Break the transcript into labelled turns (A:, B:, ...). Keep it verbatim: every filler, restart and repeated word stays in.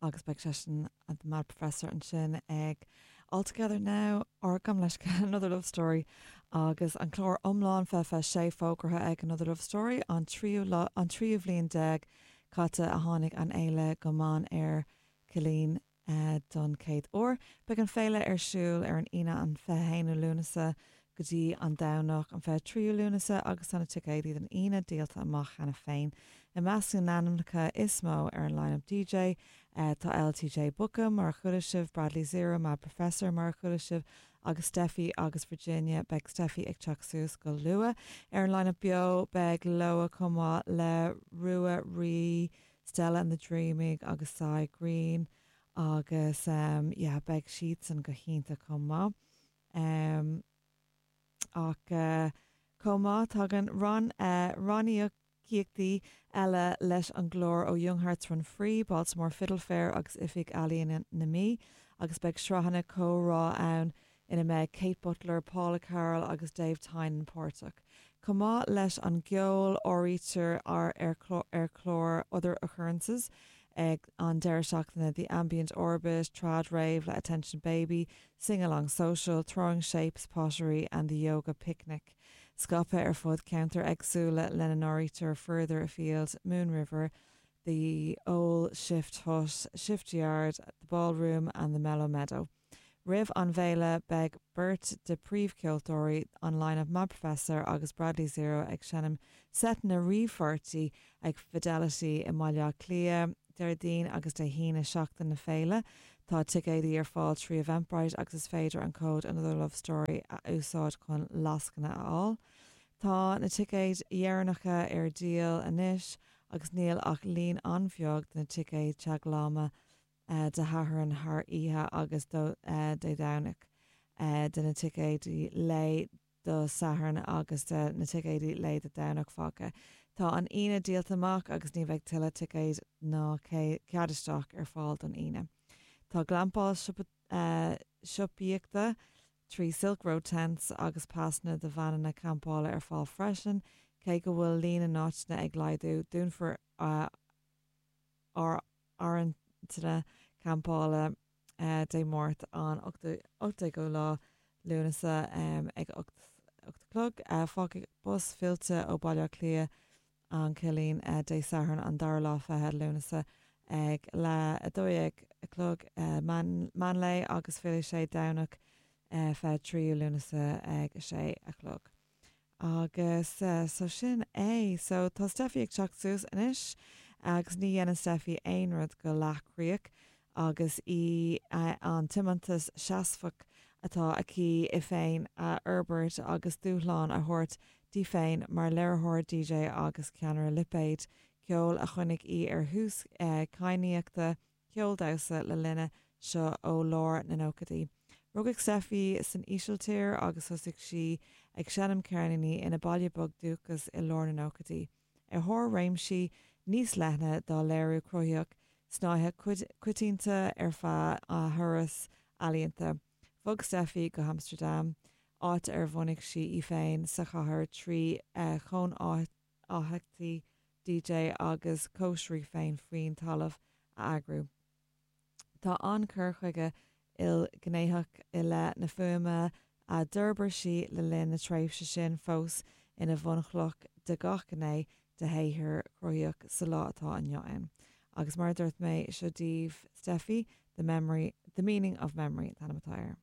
A: Agus beidh seisean an Mad Professor ansin ag All Together Now or gabh mo leithscéal Another Love Story agus an clár iomlán fiche fiche sé fógartha ag Another Love Story an tríú an tríú bhliain déag caite a tháinig an fhéile go Mainéar Chillín uh, don chéad uair. Beidh an féile ar siúl ar an Aoine an fiche haonú Lúnasa go dtí an Domhnach an fiche tríú Lúnasa agus tá na ticéidí don Aoine díolta amach cheana féin. I measc na n-ainmneacha is mó ar an line-up DJ uh, tá LTJ Bukem mar chuala sibh Bradley Zero Mad Professor mar chuala sibh agus Steffi agus Virginia beidh Steffi ag teacht suas go luath. Ar an line-up beo beidh Loah cumá le Rua Rí Stella and the Dreaming agus Si Green agus um, yeah, beidh siadsan go hiontach chomh maith. Um, ach uh, chomh maith tagann ran uh, ranníocaíochtaí eile leis an gclár ó Young Hearts Run Free, Baltimore Fiddle Fair agus Oifig Ealaíon na Mí, agus beidh sraitheanna comhrá ann ina mbeidh Kate Butler, Paula Carroll agus Dave Tynan páirteach. Chomh maith leis an gceol áirítear ar ar ar chlár Other Occurrences ag an deireadh seachtaine The Ambient Orbit, Trad Rave le Attention Baby, Sing Along Social, Throwing Shapes, Pottery and the Yoga Picnic. Scaipthe ar fud ceantair éagsúla lena n-áirítear Further Afield, Moon River, the Old Shift Hut, Shift Yard, the Ballroom and the Mellow Meadow. Roimh an bhféile beidh beirt de príomhcheoltóirí an line-up Mad Professor agus Bradley Zero ag seinm seiteanna ríomhpháirtí ag Fidelity i mBaile Átha Cliath, Déardaoin agus Dé hAoine seachtain na féile, Tá ticéidí ar fáil trí Eventbrite agus is féidir an cód Another Love Story a úsáid chun lascaine a fháil. Tá na ticéid dheireanacha ar díol anois agus níl ach líon an-bheag de na ticéid teagmhála uh, do Shatharn thar oíche agus do uh, Dé Domhnach uh, de na ticéidí lae do Satharn agus de na ticéidí lae do Domhnach fágtha. Tá an Aoine díolta amach agus ní bheidh tuilleadh ticéid ná cead isteach ar fáil don Aoine. Tá glampáil uh, siopaíochta trí Silk Road Tents agus pasanna do veaineanna campála ar fáil freisin, cé go bhfuil líon na n-áiteanna ag laghdú dúnfar uh, ár áiríteanna campála uh, Dé Máirt an ochtú lá Lúnasa um, ag ocht clog uh, fágfaidh bus fillte ó Baile Átha Cliath an Cillín uh, Dé Sathairn an dara lá fichead Lúnasa ag le a dó dhéag a chlog uh, meánlae agus fillfidh sé Domhnach uh, fiche tríú Lúnasa ag a sé a chlog. Agus uh, so sin é, so tá Steffi ag teacht suas anois agus ní dhéanann Steffi aon rud go leathchríoch agus í uh, an tiomantas seasmhach atá aici í féin a fhorbairt agus dúshlán a thabhairt di féin mar léiritheoir DJ agus ceannaire lipéid ceol a choinnigh í ar thús uh, cadhnaíochta ceol damhsa le linne seo ó lár na nóchaidí. Rugadh Steffi san Ísiltír agus thosaigh sí ag seinm ceirníní ina baile beag dúchais i lár na nóchaidí. Ar thóir réimsí níos leithne dá léiriú cruthaitheach snáithe coitianta ar feadh a thuras ealaíonta. Bhog Steffi go Amsterdam, áit ar bhunaigh sí í féin sa chathair trí uh, chónaitheachtaí DJ agus cóisirí féin faoin talamh a eagrú. Tá an cur chuige ilghnéitheach i leith na fuaime a d'fhorbair sí le linn na tréimhse sin fós ina bhunchloch de gach gné dá shaothar cruthaitheach sa lá atá inniu ann. Agus mar dúirt mé seo daoibh Steffi, the memory, the meaning of memory an t-ainm atá air.